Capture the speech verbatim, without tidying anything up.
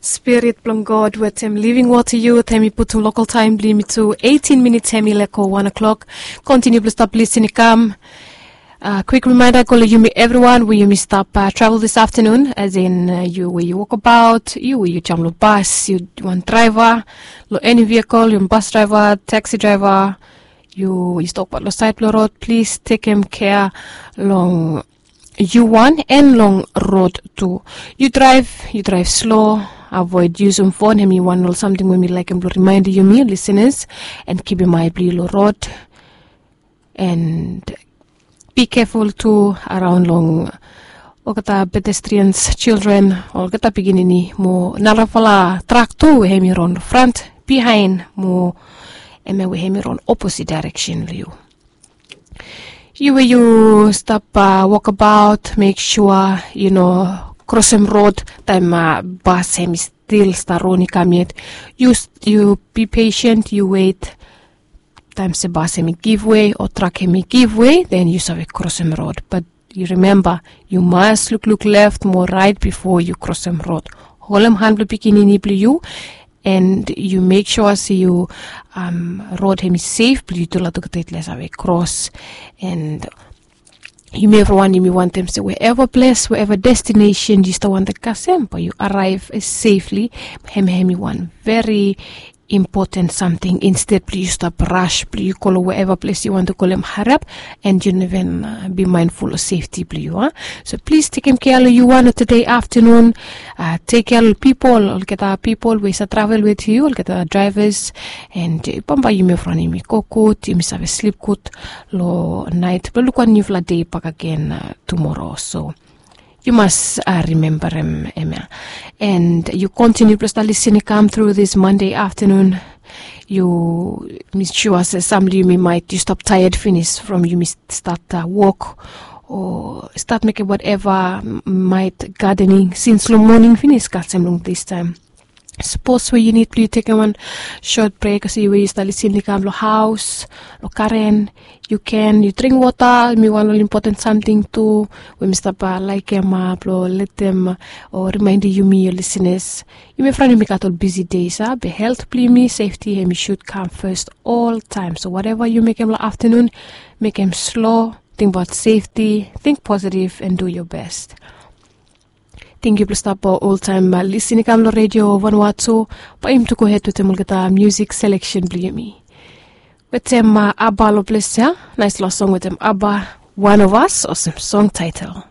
Spirit blong God wetem living water youth, hemi putum local time bli mi tu eighteen minutes hemi leko one o'clock. Continue blong stop listening come. Uh, quick reminder, go lo yumi everyone, we yumi stop uh, travel this afternoon, as in uh, you where you walk about, you where you jam lo bus, you one driver, lo any vehicle, you bus driver, taxi driver, you you stop lo side lo road, please take him care long you one and long road too. You drive, you drive slow, avoid using phone, hemi one ol something we mi like him lo remind you, me listeners, and keep in mind lo road. And be careful tu araon long olgeta pedestrians, children, olgeta pikinini mo narafala trak tu we hemi ron front, behind mo eme we hemi ron opposite direction lo yu. Yu we yu stap uh, walkabout, make sure you know crossing road time uh, bus hemi still start roni come yet. You, you be patient, you wait. Taem se bas hemi give way o trak hemi give way, then yu save krosim rod. But yu rimemba, yu mas lukluk left mo raet bifo yu krosim rod. Holem han blong pikinini blong yu, and yu mek sua se yu um, rod hemi sef blong yu tu latuk tetla save kros. And yumi evriwan yumi wantem se wherever ples, wherever destination yu stap wantem kasem, bae yu araev safely. Hem hemi wan veri impoten samting, insted blong yu stap ras blong yu go long wherever ples yu wantem go long hariap, and yu no even uh, be mindful of safety blong yu a. So plis tekem kea long yu wan long tude aftanun. Uh, tek kea long pipol, olgeta pipol we i save travel wit yu, olgeta drivers, and uh, bambae yumi evriwan yumi go gud, yumi save slip gud long naet blong luk wan niufala dei bakegen uh, tumoro. So yu mas uh, rimembarem hemia. And yu kontiniu blong stap lisin i kam tru this Monday aftanun. Yu, mi sua se sam blong yumi maet yu stap taead finis from yumi stat uh, wok o stat mekem wateva, maet gadening sins long moning finis kasem long distaem. Sapos we yu nid blong yu tekem wan sot brek, olsem we yu stap lisin i kam long haos, long garen, yu ken yu dring wota. Hemi wan ol impoten samting tu we mi stap laekem blong letem o rimaenem yumi, yu lisenas. Yumi evriwan yumi gat ol bisi dei, be helt blong yumi, sefti hemi sud kam fes oltaem. So wateva yu mekem long aftanun, mekem slo, tingbaot sefti, ting positiv, and du yu bes. Tenkyu blong stap oltaem lisin i kam long redio Vanuatu. Bae yumi tu gohed wetem olgeta musik seleksen blong yumi. Wetem ABBA long ples ya. Naes long song wetem ABBA, One of Us, olsem song taetel.